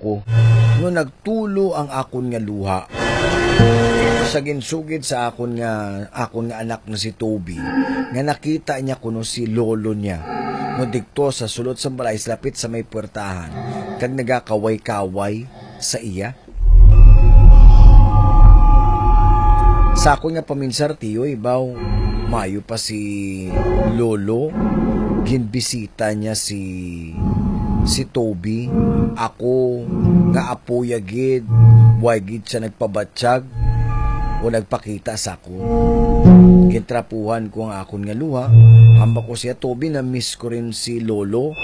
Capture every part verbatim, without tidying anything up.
ko, no nagtulo ang akon nga luha. Sa ginsugid sa akon nga, akon nga anak na si Toby, nga nakita niya kuno si lolo niya, no dikto sa sulod sang balay, sa lapit sa may puwertahan, kag nagakaway-kaway sa iya. Sa akon nga paminsar, tiyoy, baw, maayo pa si lolo, ginbisita niya si, si Toby. Ako nga apoya gid, way gid siya nagpabatyag o nagpakita sa akon. Gintrapuhan ko ang akon nga luha. Hambal ko siya, "Toby, na-miss ko rin si lolo."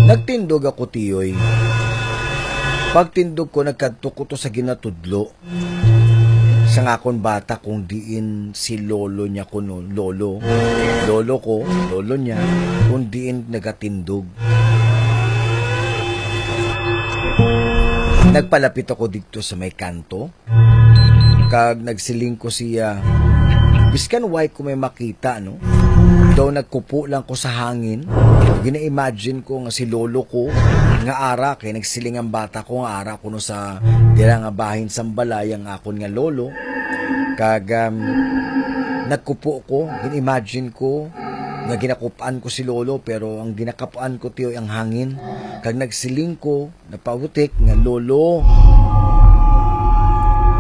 Nagtindog ako, tiyoy. Pagtindog ko, nagkadto ko to sa ginatudlo sang akon bata, kung diin si lolo niya kuno, lolo, lolo ko, lolo niya, kung diin nagatindog. Nagpalapit ako didto sa may kanto, kag nagsiling ko siya, biskan way ko may makita, no? Daw nagkupo lang ko sa hangin. Gina-imagine ko nga si lolo ko nga ara, kay nagsiling ang bata ko nga ara kuno sa dira nga bahin sang balay ang akon nga lolo. Kag, um, nagkupo ko, gin-imagine ko nga ginakup-an ko si lolo, pero ang ginakapuan ko, tiyoy, ang hangin. Kag nagsiling ko, napabutik nga, "Lolo,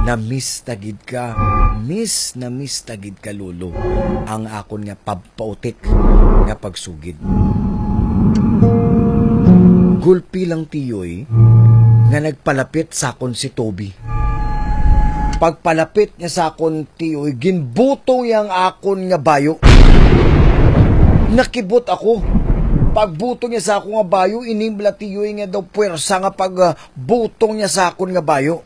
na-miss ta gid ka. Miss na miss ta gid ka, lolo." Ang akon nga pab-, pautik nga pagsugid. Gulpi lang, tiyoy, nga nagpalapit sa akon si Toby. Pagpalapit niya sa akon, tiyoy, ginbutong niya ang akon nga bayo. Nakibot ako. Pagbutong niya sa akon nga bayo, ini bala, tiyoy, nga daw puwersa nga pag, ah, butong niya sa akon nga bayo.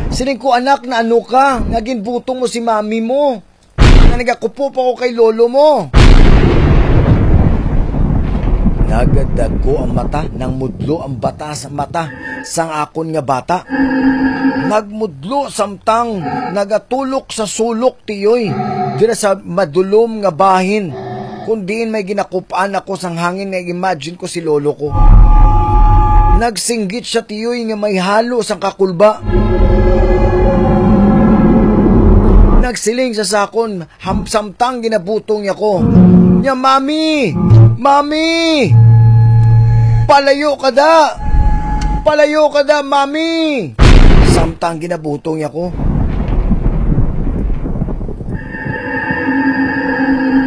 Siling ko, "Anak, na ano ka? Nga ginbutong mo si mami mo? Nga nagakupo pa ko kay lolo mo?" Nagdagko ang mata, nangmudlo ang bata sa mata sang akon nga bata. Nagmudlo samtang nagatulok sa sulok, tiyoy, dira sa madulom nga bahin, kung diin may ginakup-an ako sang hangin nga imagine ko si lolo ko. Nagsinggit siya, tiyoy, nga may halo sang kakulba. Nagsiling siya sa akon, ham-, samtang ginabutong niya ko, niya, "Mami! Mami! Palayo ka da! Palayo ka da, Mami!" Samtang ginabutong niya ko.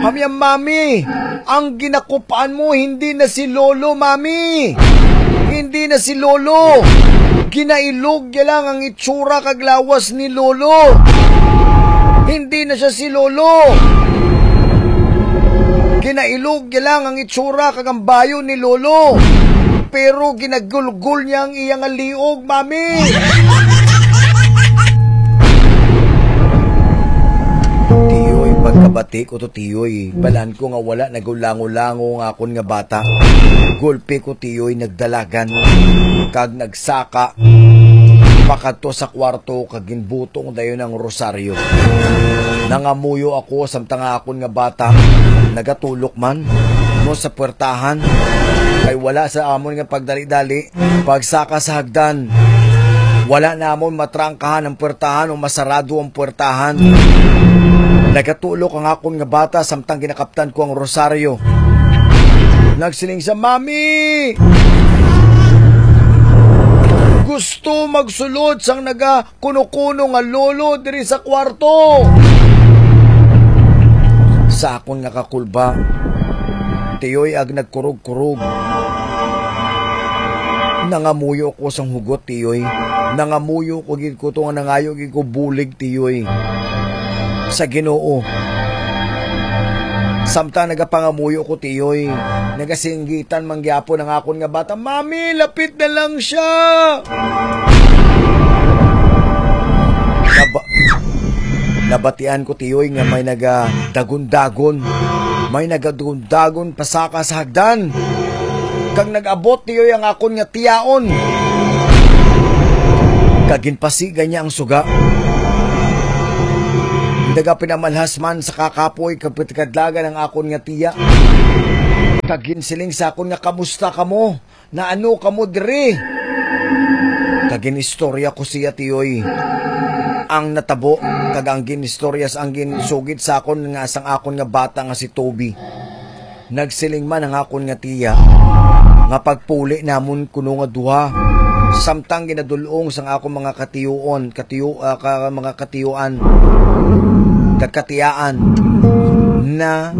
Hamya, "Mami, ang ginakup-an mo hindi na si Lolo, Mami. Hindi na si Lolo. Ginailog niya lang ang itsura kag lawas ni Lolo. Hindi na siya si Lolo. Ginailog niya lang ang itsura kag ang bayo ni Lolo. Pero ginagulgol niya ang iya nga liog, Mami." Tiyoy, pagkabati ko to, tiyoy, balaan ko nga wala nagulango-lango nga akon nga bata. Gulpi ko, tiyoy, nagdalagan kag nagsaka pakadto sa kwarto kag ginbutong dayon ang rosaryo. Nangamuyo ako samtang ang akon nga bata nagatulok man mo sa puwertahan, kay wala sa amon nga pagdali-dali pagsaka sa hagdan. Wala namon matrangkahan ang puwertahan o masarado ang puwertahan. Nagatulok ang akon nga bata samtang ginakaptan ko ang rosaryo. Nagsiling siya, "Mami! Gusto magsulod sang naga kuno-kuno nga lolo diri sa kwarto." Sa akon nga kakulba, tiyoy, ag nagkurog-kurog. Nangamuyo ko sang hugot, tiyoy. Nangamuyo ko gid ko to nga nangayo gid ko bulig, tiyoy, sa Ginoo. Samtang nagapangamuyo ko, tiyoy, nagasinggitan man gyapon ang akon nga bata, "Mami, lapit na lang siya!" Naba-, nabatian ko, tiyoy, nga may nagadagon-dagon. May nagadagon-dagon pasaka sa hagdan. Kag nag-abot, tiyoy, ang akon nga tiyaon. Kag ginpasiga niya ang suga. Nagapinamalhas man sa kakapoy kag pitikadlagan ang akon nga tiya. Kag ginsiling sa akon nga, "Kamusta kamo? Naano kamo diri?" Kag ginistorya ko siya, tiyoy, ang natabo, kag ang ginistorya sa, ang ginsugid sa akon nga sang akon nga bata nga si Toby. Nagsiling man ang akon nga tiya nga pagpuli namon kuno nga duha, samtang ginadul-ong sang akon mga katiyoon, katiyo-, ah, ka-, mga katiyuan, kag katiyaan, na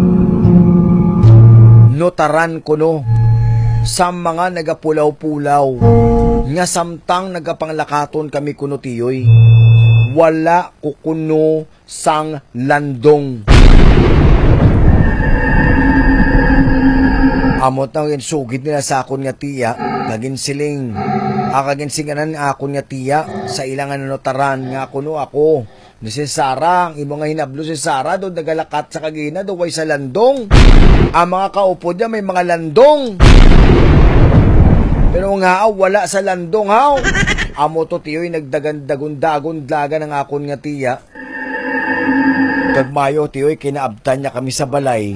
notaran kuno sa mga nagapulaw-pulaw nga samtang nagapanglakaton kami kuno, tiyoy, wala ko kuno sang landong. Amo na ang ginsugid nila sa akon nga tiya, nga ginsiling, ah, nga ginsinganan nga akon nga tiya sa ila nga nanotaran nga kuno ako. Ni si Sarah, ang imo nga hinablo si Sarah, do nagalakat sa kagina, do way sa landong. Ang mga kaupod niya may mga landong. Pero nga, wala sa landong, haw. Amo to, tiyoy, nagdagan-dagon-dagon dlagan ang akon nga tiya. Kag mayo, tiyoy, kinaabtan niya kami sa balay.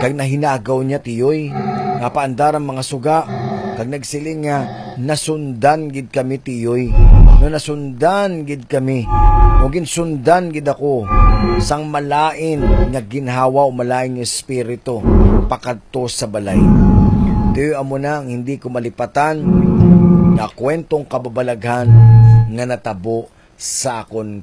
Kag nahinagaw niya, tiyoy, nga paandar ang mga suga. Kag nagsiling nga, "Nasundan gid kami, tiyoy. No, nasundan gid kami. O ginsundan gid ako sang malain nga ginhawa o malain nga espiritu pakadto sa balay." Tiyoy, amo na ang hindi ko malipatan nga kwentong kababalaghan nga natabo sa akon